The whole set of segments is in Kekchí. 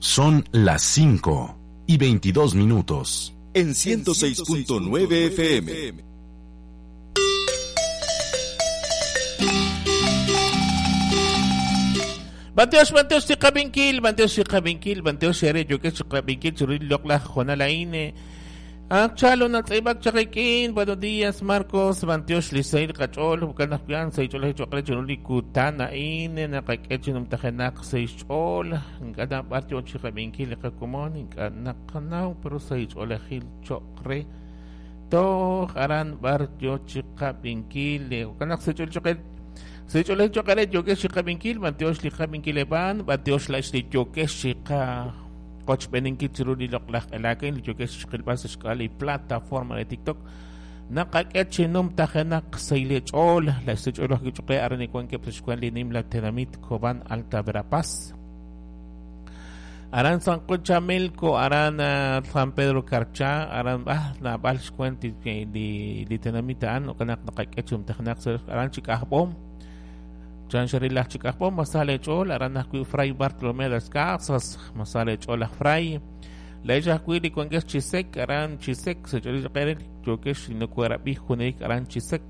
Son las 5:22 minutos. En 106.9 FM. Banteos, banteos, chiqabinkil, banteos, chiqabinkil, banteos, xere, yoke, chiqabinkil, churil, lokla, jonalaine. Chalo, natzibak, chakikin, buenos días, Marcos, banteos, lisail, kachol, bukanakyan, saichol, chokre, churuli, kutana, ine, nakakechinum, tajenak, saichol, nkana, bartio, chiqabinkil, kakumon, nakakanau, pero saichol, gil, chokre, to, aran, bartio, chiqabinkil, bukanak, saichol, chokre, Sechole chokare yoke chiqabinkil, banteos liqabinkil eban, banteos la yoke chiqa qochbeninkil chiruli loqlaj elakin, yoke chiqilpas xkali plataforma de TikTok. Naqak'echinum tajenak seilechol, la sechol kichqe arani kuanke pxkuan nim la tenamit Cobán Alta Verapaz. Aran San Chamelco, Aran San Pedro Carchá, Aran Nabal xkuan li tenamita an, okanak naqak'echum tajenak aran chikajbom. Chan Sharila Chikajbom, Masale Chol, Aran Fray Bartolomé de las Casas, Masale Chol Fray, Leja Cuili Cuangues Chisek, Aran Chisek, Sechol Pérez, Yokesh, Nucuerabi, Junik, Aran Chisek,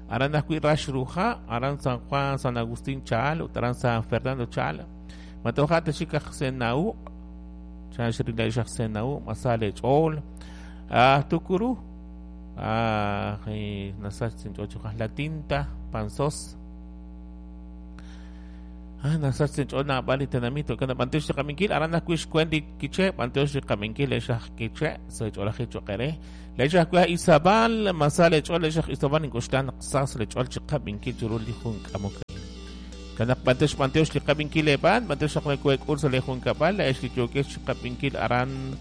Aran Ajui Rash Ruja, Aran San Juan, San Agustín Chal, Aran San Fernando Chal, Matojate Chikaj Senau, Chan Sharila Senau, Masale Chol, Tukuru, Nasach La Tinta, Panzos. Nasach chona bali tenamito kana banteos qaminkil arana kuish kwendi kiche banteos qaminkil eshaj kiche secholaje choqere lechaj kwa Isabal masale chol eshaj Isabal inkushtan qsas lechol chiqaminkil churuli jun k'amuk kana banteos banteos liqaminkil eban banteos qmekwek urso le jun kapal esh yokesh chiqaminkil aran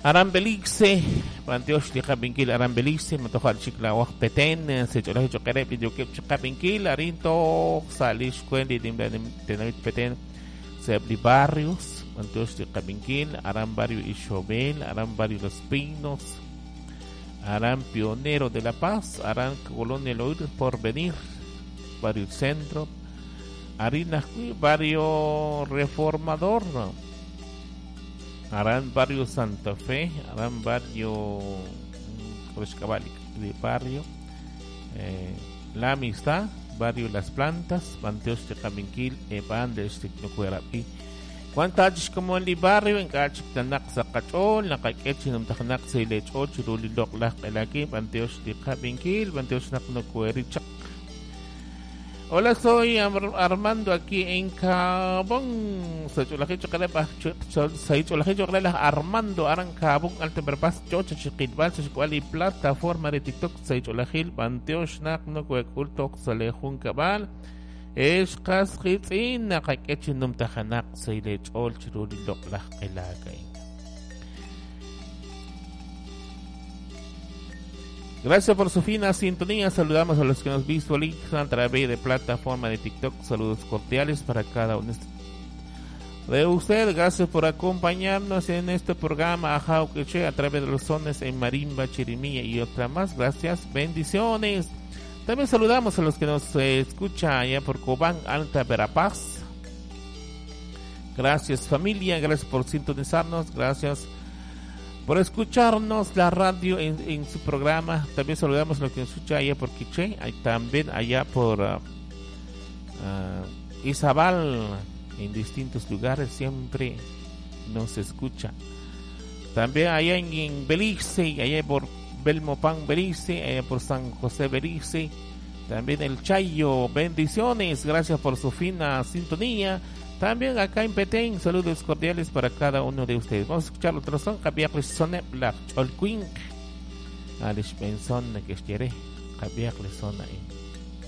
Aran Belice, banteos liqaminkil Aran Belice, matojal chiklawaj Petén, secholaje choqere yoke chiqaminkil arinto salish kwendi tenamit Petén, sebli barrios, banteos liqaminkil Aran barrio Ixobel, Aran barrio Los Pinos, Aran Pionero de la Paz, Aran Colonia Loir Porvenir, barrio Centro, Arina barrio Reformador, Aran barrio Santa Fe, Aran barrio de barrio La Amistad, barrio Las Plantas, Banteos de Caminquil, Eban de Esticnocuerapi. Cuántas como en el barrio en Cachitanak Zacachol, Nakakechinum Tanak Selechol, Chirulilok Lak Banteos de Caminquil, Banteos Naknocuerichak. Hola, soy Armando aquí en Cabón. Armando Aran Cabón, Alto Verapaz, Chocha, Chiquilbal, y plataforma de TikTok, Seycholajil, Banteosh, Nakno, Cueculto, Salejun Cabal, Escas, Hitzin, Nakakechinum Tajanak, Seilechol, Chirulilok, Lajkelakay. Gracias por su fina sintonía. Saludamos a los que nos visualizan a través de plataforma de TikTok. Saludos cordiales para cada uno de ustedes. Gracias por acompañarnos en este programa Ajau Quiché a través de los sones en marimba, chirimía y otra más. Gracias, bendiciones. También saludamos a los que nos escuchan allá por Cobán, Alta Verapaz. Gracias familia, gracias por sintonizarnos, gracias por escucharnos la radio en su programa. También saludamos a los que nos escuchan allá por Quiché, también allá por Izabal, en distintos lugares siempre nos escucha. También allá en Belice, allá por Belmopán, Belice, allá por San José, Belice. También el Chayo, bendiciones, gracias por su fina sintonía. También acá en Petén, saludos cordiales para cada uno de ustedes. Vamos a escuchar otro son, Javier Sone Black Cholquink. Alish Benson, que quiere, Javier Sone.